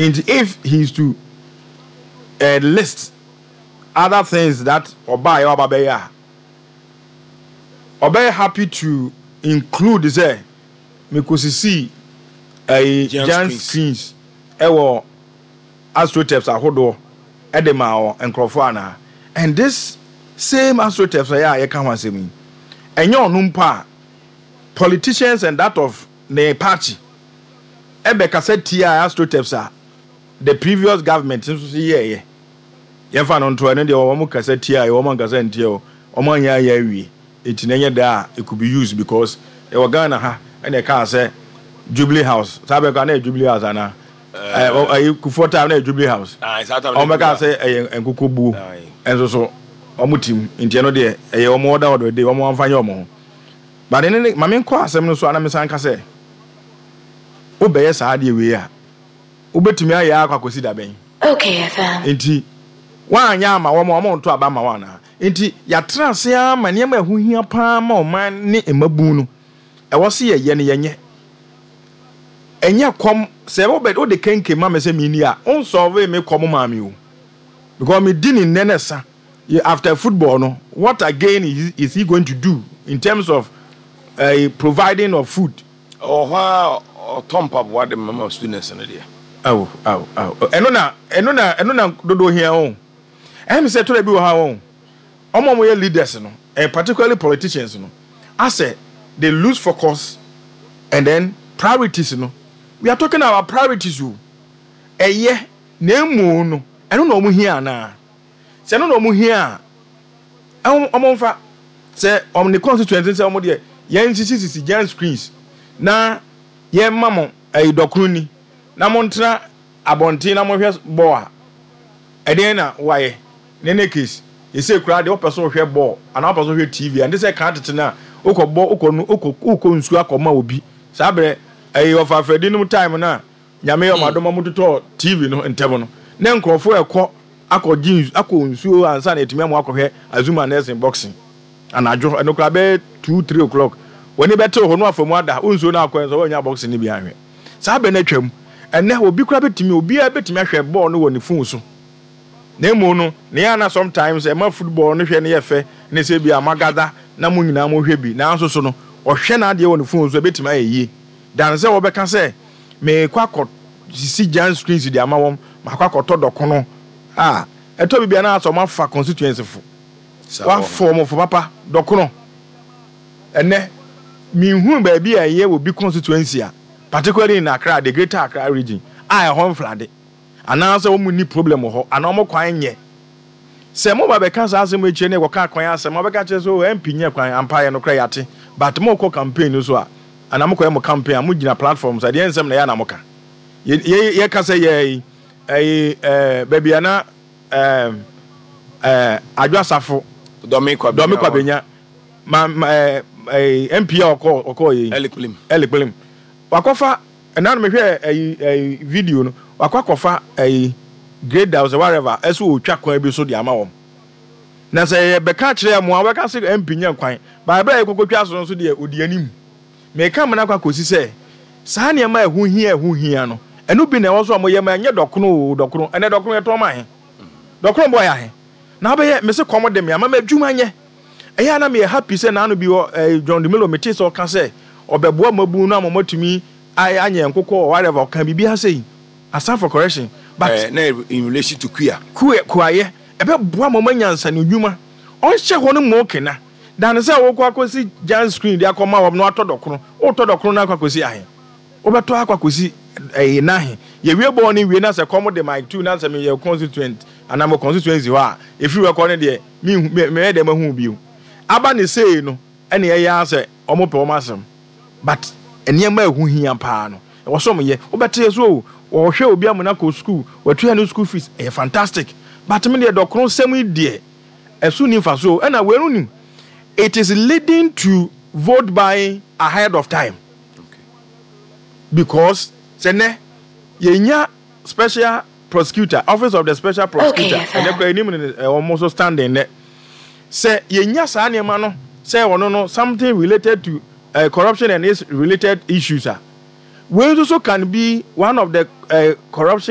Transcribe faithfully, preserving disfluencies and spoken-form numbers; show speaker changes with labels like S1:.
S1: Nti if he is to uh, list other things that ɔbaa yɛ ɔba bɛyɛ a, ɔbɛyɛ happy to include sɛ mekosisi ɛyi
S2: giant
S1: giant
S2: screens.
S1: Screens ɛwɔ astroturfs ahodoɔ ɛde ma wɔ nkurɔfoɔ anaa? And this same astroturfs ɛyɛ a yɛka ho asɛm yi, ɛnyɛ ɔno mpo a, politicians and that of ne party ɛbɛkasa tia astroturfs a the previous government nso so yɛɛyɛ. Yɛmfa no nto ɛno deɛ, wɔn kasa tia yɛ, wɔn ankasa ntia o, wɔn anyɛ ayɛ awie. Eti na ɛnyɛ da a it could be used because ɛwɔ Ghana ha. Ɛna ɛkaa sɛ Jubilee House saa bɛka na yɛ Jubilee House anaa ɛɛ ɛyi Kufuor time na yɛ Jubilee House.
S2: Aye, saa time
S1: wɔn
S2: na
S1: bɛka sɛ ɛyɛ nkoko buo.
S2: Aye.
S1: Ɛnso so wɔn tim nti ɛno deɛ ɛyɛ wɔn ɔda ɔdɔ de wɔn amfa nyɛ wɔn ho. But ne ne maame nkɔ asɛm no so anam san ka sɛ wobɛyɛ saa adeɛ wei a, wobɛtumi ayɛ akɔ akɔsi dabɛn?
S3: Okay F M.
S1: Nti woanyɛ ama wɔn a wɔn nto aba ma wɔn anaa? Nti yɛatena ase ama nneɛma a ɛho hia paa ma ɔman ne mmabun no, ɛwɔ se yɛyɛ no, yɛnyɛ. Ɛnyɛ kɔm sɛ wobɛ wode kenke ma me sɛ menni a wonsɔlve me kɔm maa me o, because medi ne nnɛ ne sa. Yɛ- after football no, what again is, is he going to do in terms of uh, providing of food?
S2: Ɔwɔ hɔ a ɔtɔ mpaboa de mama students no deɛ.
S1: Awo awo awo, ɛno na ɛno na ɛno na dodo hia o. Ɛmi sɛ tɔrɔ bi wɔ ha o, ɔmo a wɔyɛ leaders no, and particularly politicians no, asɛ they lose focus and then priorities no. We are talking about priorities o. Ɛyɛ na emu no, ɛno na ɔmo hia anaa? Sɛ ɛno na ɔmo hia a, ɛmo ɔmo nfa sɛ ɔmo ne constituency sɛ ɔmo deɛ yɛn sisi sisi giant screens na yɛn ma mo ɛyi dɔkono ni na mo ntena abɔnten na mo hwɛ bɔɔl a, ɛdeɛn na wayɛ? Ne ne case yɛsɛ kura deɛ, wopɛ so wohwɛ bɔɔl anaa wopɛ so wohwɛ T V a, nte sɛ kan tete no a wokɔ bɔ wokɔ nu wokɔ wokɔ nsuo akɔma obi. Saa berɛ ɛyɛ ɔfa afɛdi nom time no a Nyame yɛ ɔmo adom ɔmo totɔ T V no ntɛm no, ne nkurɔfoɔ ɛkɔ akɔgye nsu akɔ nsuo ansa na yɛtumi ama akɔhwɛ Azuma Nelson boxing anadwo. Ɛno koraa bɛyɛ two three o'clock, wɔne bɛtew hɔ no afa mu ada wo nsuo no akɔ nso wɔnya boxing no bi ahwɛ. Saa bɛ no atwam. Ɛnɛ obi koraa bɛtumi, obiara bɛtumi ahwɛ bɔɔl no wɔ ne phone so. Na emu no ne yɛn ana sometimes ɛma football no hwɛ no yɛ fɛ ne sɛ bi a magada na mo nyinaa mo hwɛ bi. Nanso so no ɔhwɛ n'adeɛ wɔ ne phone so, ɛbɛtumi ayɛ yie dan sɛ wɔbɛka sɛ meekɔ akɔ sisi giant screens de ama wɔn, maakɔ akɔtɔ dɔkono a ɛtɔ bi bia na asɛ ɔmo afa constituency fo wafɔ ɔmo fo papa dɔkono. Ɛnɛ mihu baabi a ɛyɛ wɔ bi constituency a, particularly in Accra, the Greater Accra Region, a ɛhɔ mflade anaasɛ wɔn ni problem wɔ hɔ anaa wɔn kwan nyɛ. Sɛ mo ba bɛka saa asɛm akyire ne wɔka kwan asɛm a, wɔbɛka kyerɛ sɛ o M P nyɛ kwan ampa yɛ no kora yɛate. But mo kɔ campaign no so a, anaa mo kɔyɛ mo campaign a, mo gyina platform so adeɛ nsɛm na ɛyɛ na mo ka. Yɛ yɛ yɛka sɛ yɛ ɛyi ɛɛ baabi a na ɛɛ ɛɛ Adwo Asafo
S2: Dɔmi Kwabenya.
S1: Dɔmi Kwabenya ma ma ɛɛ ɛɛ M P a ɔkɔ ɔkɔ yɛ yi.
S2: Elikplim.
S1: Elikplim wakɔfa ɛnan mehwɛ ɛyi ɛyi video no, wakɔ akɔfa ɛyi grader sɛ whatever ɛso otwa kwan bi so de ama wɔn. Na sɛ yɛbɛka kyerɛ mo a, wɔbɛka sɛ M P nyɛ kwan baabere a yɛkɔkɔ twa so no nso deɛ, odi anim mɛka mena akɔ akɔsi sɛ saa nneɛma a ɛho hia ɛho hia no, ɛno bi na ɛwɔ so a moyɛ ma ɛnyɛ dɔkono o. Dɔkono ɛnɛ dɔkono yɛtɔn ma ahe? Dɔkono bɔ yɛ ahe na wobɛyɛ? Mese kɔm de me ama ma adwuma nyɛ. Ɛyɛ a na meyɛ happy sɛ naano bi wɔ ɛɛ John Dumelo, mete sɛ ɔka sɛ ɔbɛboa mabu no ama ɔmatumi ayɛ anyɛ nkokɔ or whatever, ɔka biribi ase yi aside for correction, but
S2: Eh, na in relation to kuya.
S1: Kua kuayɛ ɛbɛboa ma ɔma nyansa ne nnwuma ɔnhyɛ hɔ no mu kena dan sɛ wokɔ akɔsi giant screen de akɔma wɔm na watɔ dɔkono. Wotɔ dɔkono no akɔ akɔsi ahe? Wobɛtɔ akɔ akɔsi ɛyɛ n'ahe? Yɛwie bɔɔl no wie na sɛ kɔm de Mike two na sɛ meyɛ constituent anaa mo constituency hɔ a, ɛfiri hɔ kɔ no deɛ, mehu meyɛ dɛ mahu bio aba ne sei no. Ɛne ɛyɛ ara sɛ ɔmo pɛ ɔmo asɛm, but nneɛma a ɛho hia paa no, ɛwɔ sɛ ɔmo yɛ. Wobɛte so o, wɔhwɛ obi amuna kɔ school, wɔatua ne school fees, ɛyɛ fantastic. But me deɛ, dɔkono sɛm yi deɛ, ɛso ni nfa so. Ɛna wei no nim it is leading to vote buying ahead of time because sɛ nɛ yɛnya special prosecutor, Office of the Special Prosecutor,
S3: Okay,
S1: ɛnɛ kora anim ne ɔmo so standing nɛ sɛ yɛnya saa nneɛma no sɛ ɔno no something related to uh, corruption and its related issues a, wei nso so can be one of the uh, corruption.